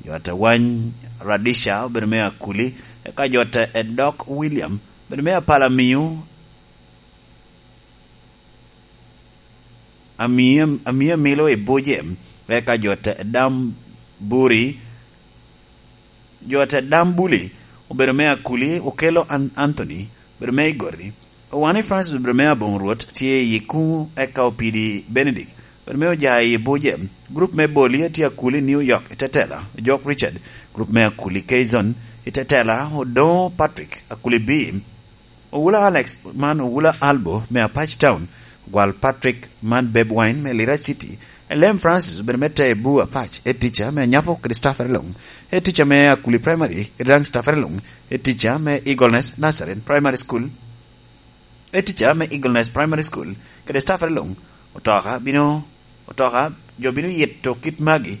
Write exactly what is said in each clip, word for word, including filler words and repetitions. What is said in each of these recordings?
Jot a Wany Radisha obedo me Akuli, eka jot a Edok William obedo me Apalamiu, Amia, Amia Milo i Buje, eka jot a Dam Buri, jot a Dam Buli obedo me Akuli, Okelo An-, Anthony obedo me Igori, Owani Francis obedo me Aboŋo Rwot tye i Kuŋu, eka Opidi Benedict obedo me Oja i Buje, gurup me Boli a tye Akuli New York i Tetela, Ojok Richard, gurup me Akuli K-Zone i Tetela, Odoŋo Patrick, Akuli B, Owula Alex man Owula Albo me Apac Town, Ogwal Patrick man Beb Wine me Lira City, Elem Francis obedo me Tebu Apac, Head Teacher me Anyapo kede staffere luŋ, Head Teacher me Akuli Primary kede daŋ staffere luŋ, Head Teacher me Eagleness Nazarene Primary School, Head Teacher me Eagleness Primary School kede staffere luŋ. Otoka bino, otoka, jo bino yito kit magi,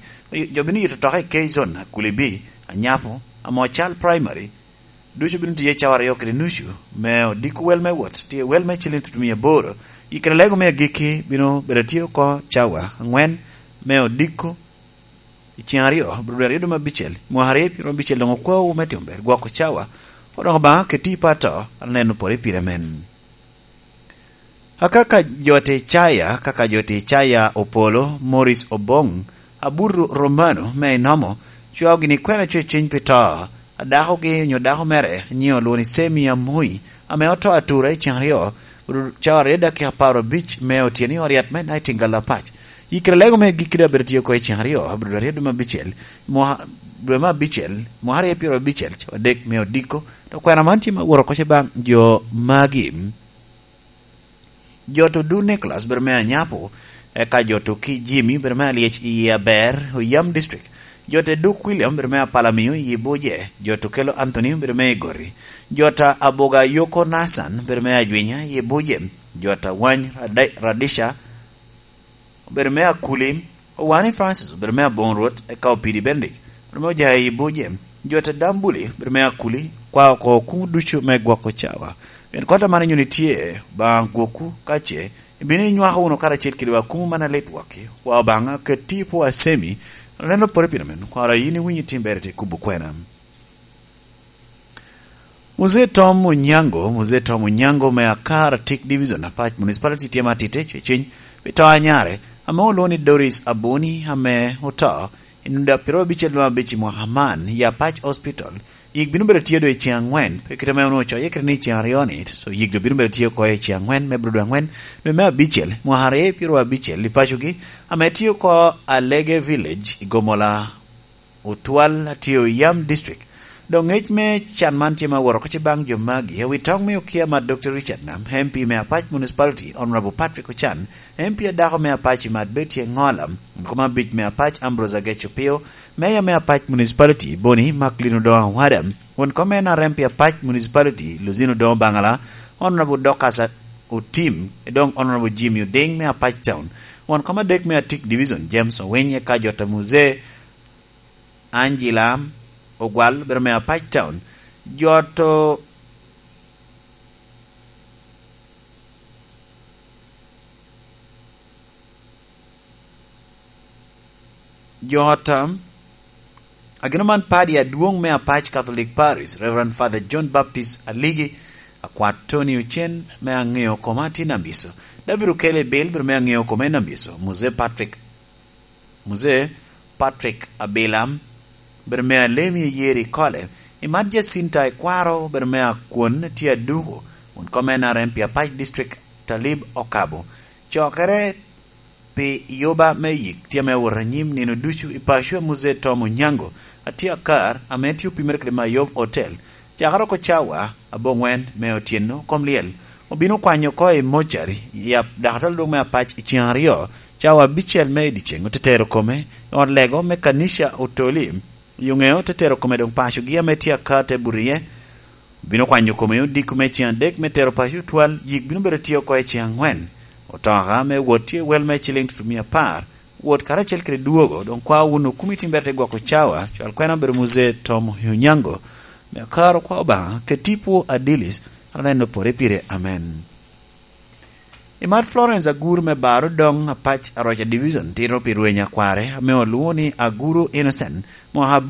jo bino yito otoka i K-Zone, Akuli B, Anyapo, Amocal Primary, ducu bino tiye cawa aryo kede nucu, me odiko wel me wot, tye wel me ciliŋ tutumia aboro. Yikere lego me agikki bino bedo tye oko cawa aŋwen me odiko i ceng aryo, Abril aryo dwe me abicel, mwaka aryo pyero abicel doŋ okwawu me timo ber, gwoko cawa, odoko Obaŋa keti i pato, aneno pore pire men. Akaka jo te caya, kaka jo te caya Opolo, Morris Obong, Abutu Romano me Inomo, cwao gini kwena cwecwiny pi to a dakogi onyo dako mere, nyiŋe olwoŋo ni Semi Amoi, ame oto atura i ceng aryo, cawa aryo dakika apar abic me otyeno i ot yat me Nightingale Apac. Yikere lego me gikki daŋ bedo tye oko i ceng aryo, Abril aryo dwe me abicel, mwa-, dwe me abicel, mwaka aryo pyero abicel, cawa adek me odiko, to kwena man tye ma woro oko ce baŋ jo magi. Jot Odu Nicholas bedo me Anyapo, eka jot Oki Jimmy bedo me Alyec i Aber, Oyam District. Jot Eduk William bedo me Apalamiu i Buje. Jot Okelo Anthony bedo me Igori. Jot Aboga Yoko Nathan bedo me Ajwinya i Buje. Jot Awany Rade-, Radisha obedo me Akuli, Owani Francis obedo me Aboŋo Rwot, eka Opidi Benedict obedo me Ojayi i Buje, jot a Dambuli obedo me Akuli, kwa oko kuŋ ducu me gwoko cawa. Pien kota man inyuno itye, Obaŋa gwokwu ka ce ibino inywako wunu karacel kede wa kuŋ man alit wakki, wa Obaŋa keti i pwo Asemi, aneno pore pire men, kwara yin iwinyo tim ber ite kubo kwena. Muzee Tom Onyango, Muzee Tom Onyango me Akar Atik Division, Apac Municipality tye ma tite cwecwiny pi to a nyare, ame olwoŋo ni Doris Abuni, ame oto i nino daŋ pyerabicel dwe abic i mwaka man i Apac Hospital. Yik bino bedo tye doŋ i ceng aŋwen, pe kite ame onwoŋo ocoye kede ni i ceng aryo-ni, so yik doŋ bino bedo tye oko i ceng aŋwen me Abril dwe aŋwen, dwe me abicel, mwaka aryo pyerabicel i pacogi, ame tye oko Alege Village i Gomola Otwal, Atio Yam District. Dok ngec me can man tye ma woro oko ce baŋ jo magi, awi toŋ me okia mat Doctor Richard Nam, M P me Apac Municipality, Honorable Patrick Ochan, M P adako me Apac i mat Betty Engola, won kom abic me Apac Ambrose Agec Opio, Mayor me Apac Municipality, Boni Macklin Odongo Awada, won kom N R M pi Apac Municipality, Luzino Odongo Bangala, Honorable Dorcas Otim, e doŋ Honorable Jimmy Oding me Apac Town, won kom adek me Atik Division, James Owiny, eka jot a Muzee Angela Ogwal, bedo me Apac Town. Jot o-, jot, um, agino man padi adwoŋ me Apac Catholic Parish, Reverend Father John Baptist Aligi, akwat Tony Ocen me Aŋeo Koma tye Nambiso. David Okele Bill, bedo me Aŋeo Koma i Nambiso. Muzee Patrick Muzee Patrick Abila, bedo me Alemi i Yeri Kole, i mat Jacinta Ekwaro, bedo me Akwon tye Aduko, won kom N R M pi Apac District Talib Okabo. Cokere pi yoba me yik tye ame wot anyim nino ducu i paco a Muzee Tom Onyango, atye akar, ame tye opimere kede Mayov Hotel, cakere oko cawa aboŋwen me otyeno kom lyel. Obino kwanyo oko i mocari, yap, dakatala dwong me Apac i ceng aryo, cawa abicel me i dyeceng, otetero kome i ot lego me Kanisha Otoli, i oŋeo otetero kome doŋ pacogi ame tye aka te buto iye. Obino kwanyo kome i odiko me ceng adek me tero paco Otwal, yik bino bedo tye oko i ceng aŋwen. Otoka me wot tye wel me ciliŋ tutumia apar, wot karacel kede dwogo, doŋ kwao wunu kumi tim ber te gwoko cawa, cwal kwena obedo Muzee Tom Onyango, me akaro kwa Obaŋa, keti pwo Adilis, aneno pore pire, amen. I mat Florence Agur me Baro doŋ Apac Aroca Division tito pi rweny akware ame olwoŋo ni Aguru Innocent, mwaka